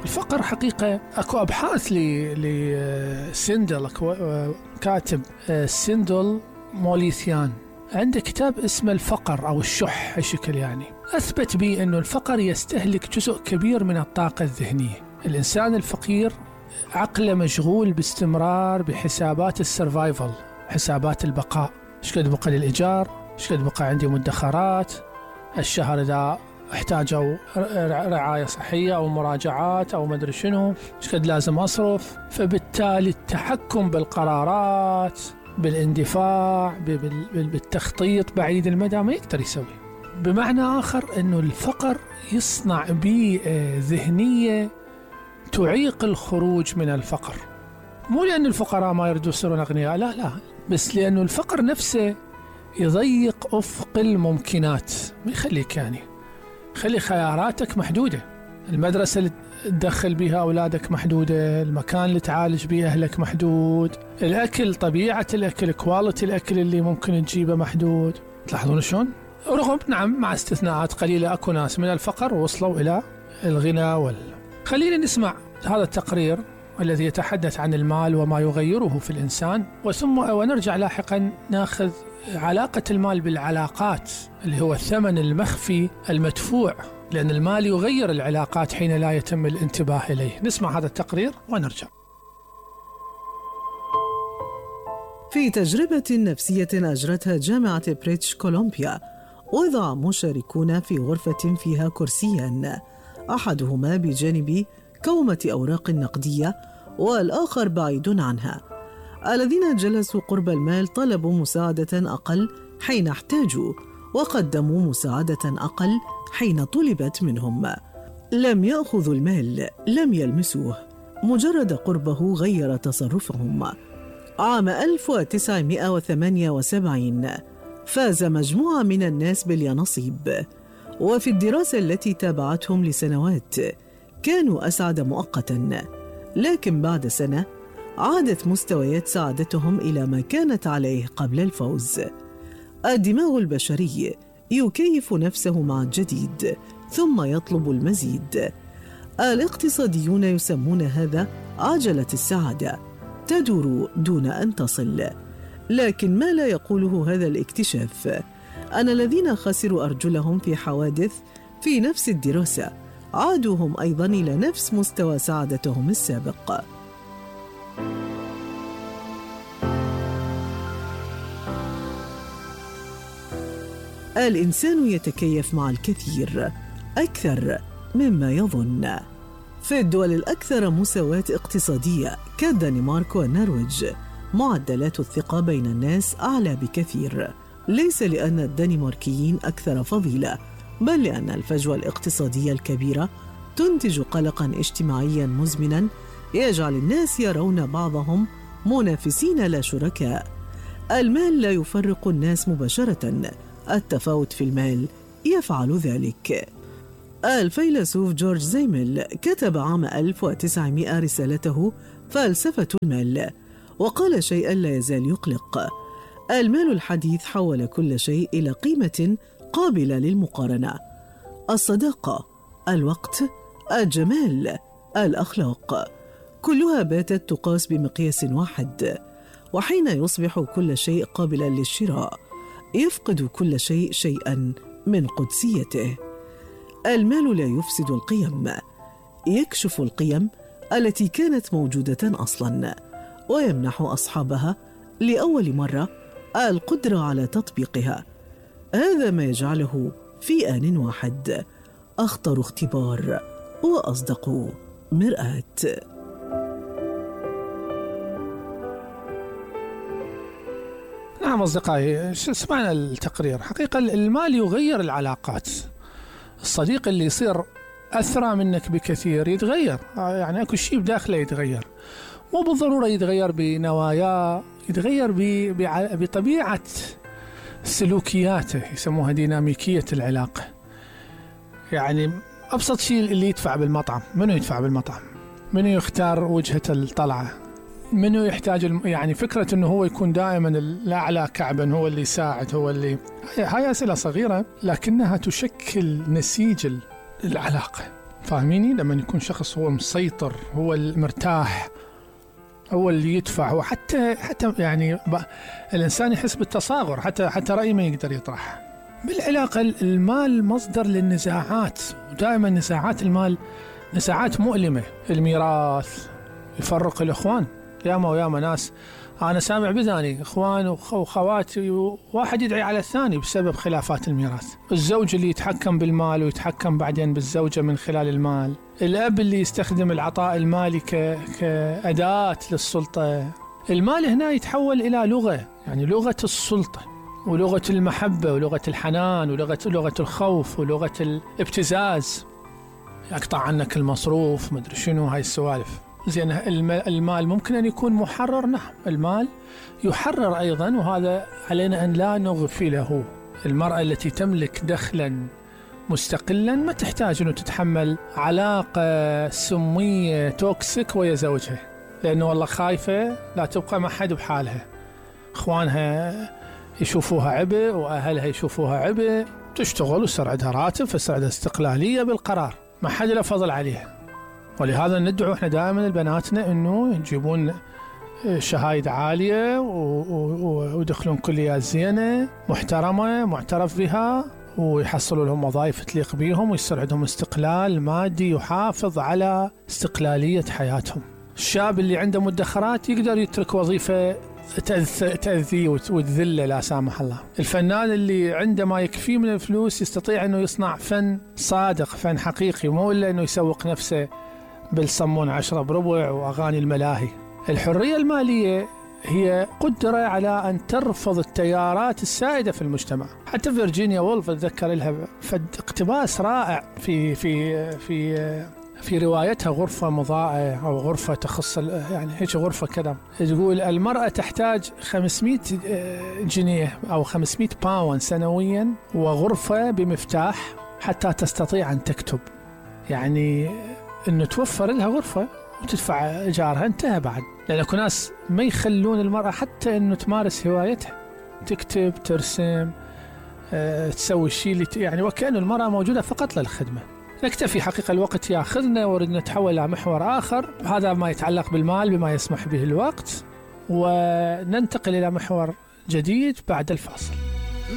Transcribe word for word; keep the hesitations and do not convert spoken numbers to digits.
الفقر حقيقة أكو أبحاث لسندل، أكو كاتب سندل موليثيان عنده كتاب اسمه الفقر أو الشح هالشكل، يعني أثبت به أنه الفقر يستهلك جزء كبير من الطاقة الذهنية. الإنسان الفقير عقله مشغول باستمرار بحسابات السرفايفل، حسابات البقاء، ايش قد بقى للإيجار، ايش قد بقى عندي مدخرات الشهر إذا احتاجوا رعاية صحية أو مراجعات أو مدري شنو، ايش قد لازم أصرف. فبالتالي التحكم بالقرارات، بالاندفاع، بالتخطيط بعيد المدى ما يقدر يسوي. بمعنى آخر أنه الفقر يصنع بيئة ذهنية تعيق الخروج من الفقر، مو لأن الفقراء ما يردوا يصيرون أغنياء، لا لا، بس لأنه الفقر نفسه يضيق أفق الممكنات، ما يخليك يعني خلي خياراتك محدودة. المدرسة اللي تدخل بها أولادك محدودة، المكان اللي تعالج به أهلك محدود، الأكل، طبيعة الأكل، كواليتي الأكل اللي ممكن تجيبه محدود. تلاحظون شلون؟ رغم نعم مع استثناءات قليلة أكو ناس من الفقر وصلوا إلى الغنى وال... خلينا نسمع هذا التقرير الذي يتحدث عن المال وما يغيره في الإنسان، وثم ونرجع لاحقا ناخذ علاقة المال بالعلاقات، اللي هو الثمن المخفي المدفوع، لأن المال يغير العلاقات حين لا يتم الانتباه إليه. نسمع هذا التقرير ونرجع. في تجربة نفسية أجرتها جامعة بريتش كولومبيا، وضع مشاركون في غرفة فيها كرسيان، أحدهما بجانب كومة أوراق نقدية والآخر بعيد عنها. الذين جلسوا قرب المال طلبوا مساعدة أقل حين احتاجوا، وقدموا مساعدة أقل حين طلبت منهم. لم يأخذوا المال، لم يلمسوه، مجرد قربه غير تصرفهم. عام ألف وتسعمائة وثمانية وسبعين فاز مجموعة من الناس باليانصيب، وفي الدراسة التي تابعتهم لسنوات كانوا أسعد مؤقتاً، لكن بعد سنة عادت مستويات سعادتهم إلى ما كانت عليه قبل الفوز. الدماغ البشري يكيف نفسه مع الجديد ثم يطلب المزيد. الاقتصاديون يسمون هذا عجلة السعادة، تدور دون أن تصل. لكن ما لا يقوله هذا الاكتشاف أن الذين خسروا أرجلهم في حوادث في نفس الدراسة عادوا هم أيضا إلى نفس مستوى سعادتهم السابق. الإنسان يتكيف مع الكثير أكثر مما يظن. في الدول الأكثر مساواة اقتصادية كالدنمارك والنرويج معدلات الثقة بين الناس أعلى بكثير، ليس لأن الدنماركيين أكثر فضيلة، بل لأن الفجوة الاقتصادية الكبيرة تنتج قلقاً اجتماعياً مزمناً يجعل الناس يرون بعضهم منافسين لا شركاء. المال لا يفرق الناس مباشرة، التفاوت في المال يفعل ذلك. الفيلسوف جورج زيمل كتب عام ألف وتسعمائة رسالته فلسفة المال، وقال شيئاً لا يزال يقلق: المال الحديث حول كل شيء إلى قيمة قابلة للمقارنة. الصداقة، الوقت، الجمال، الأخلاق، كلها باتت تقاس بمقياس واحد. وحين يصبح كل شيء قابلا للشراء يفقد كل شيء شيئا من قدسيته. المال لا يفسد القيم، يكشف القيم التي كانت موجودة أصلا، ويمنح أصحابها لأول مرة القدرة على تطبيقها. هذا ما يجعله في آن واحد أخطر اختبار وأصدق مرآة. نعم أصدقائي، سمعنا التقرير. حقيقة المال يغير العلاقات. الصديق اللي يصير أثرى منك بكثير يتغير، يعني أكو شيء بداخله يتغير، مو بالضرورة يتغير بنواياه، يتغير بطبيعة سلوكياته، يسموها ديناميكية العلاقة. يعني أبسط شيء اللي يدفع بالمطعم، منو يدفع بالمطعم؟ منو يختار وجهة الطلعة؟ منو يحتاج يعني فكرة أنه هو يكون دائما الأعلى كعبا، هو اللي يساعد، هو اللي هاي أسئلة صغيرة لكنها تشكل نسيج العلاقة. فاهميني؟ لما يكون شخص هو مسيطر، هو المرتاح، هو اللي يدفع، هو حتى حتى يعني الإنسان يحس بالتصاغر، حتى حتى رأي ما يقدر يطرح. بالعلاقة المال مصدر للنزاعات، ودائما نزاعات المال نزاعات مؤلمة. الميراث يفرق الإخوان، ياما وياما ناس أنا سامع بذاني إخوان وخواتي واحد يدعي على الثاني بسبب خلافات الميراث. الزوج اللي يتحكم بالمال ويتحكم بعدين بالزوجة من خلال المال. الأب اللي يستخدم العطاء المالي ك... كأداة للسلطة. المال هنا يتحول إلى لغة، يعني لغة السلطة ولغة المحبة ولغة الحنان ولغة لغة الخوف ولغة الابتزاز. يقطع عنك المصروف، مدري شنو، هاي السوالف. زين المال ممكن أن يكون محرر، نعم المال يحرر أيضا، وهذا علينا أن لا نغفله. المرأة التي تملك دخلا مستقلا ما تحتاج أن تتحمل علاقة سمية توكسيك ويا زوجها، لأنه والله خايفة لا تبقى مع حد بحالها، إخوانها يشوفوها عبء وأهلها يشوفوها عبء، تشتغل ويصير عندها راتب فيصير عندها استقلالية بالقرار، ما حد له فضل عليها. ولهذا ندعو احنا دائما لبناتنا انه يجيبون شهايد عالية ويدخلون كليات زينة محترمة معترف بها، ويحصلوا لهم وظائف تليق بيهم، ويصير عندهم استقلال مادي يحافظ على استقلالية حياتهم. الشاب اللي عنده مدخرات يقدر يترك وظيفة تأذيه وتذله لا سامح الله. الفنان اللي عنده ما يكفيه من الفلوس يستطيع انه يصنع فن صادق، فن حقيقي، مو الا انه يسوق نفسه بالصمون عشرة بربع وأغاني الملاهي. الحرية المالية هي قدرة على أن ترفض التيارات السائدة في المجتمع. حتى فيرجينيا وولف أتذكر لها فد اقتباس رائع في في في في روايتها غرفة مضاءة أو غرفة تخص يعني هيك غرفة كذا، تقول المرأة تحتاج خمسمائة جنيه أو خمسمائة باوند سنويا وغرفة بمفتاح حتى تستطيع أن تكتب. يعني إنه توفر لها غرفة وتدفع إيجارها، انتهى بعد. لأن أكو ناس ما يخلون المرأة حتى إنه تمارس هوايتها، تكتب، ترسم، أه، تسوي الشيء اللي يعني وكأنه المرأة موجودة فقط للخدمة. نكتفي، حقيقة الوقت ياخذنا وردنا نتحول إلى محور آخر، هذا ما يتعلق بالمال بما يسمح به الوقت، وننتقل إلى محور جديد بعد الفاصل.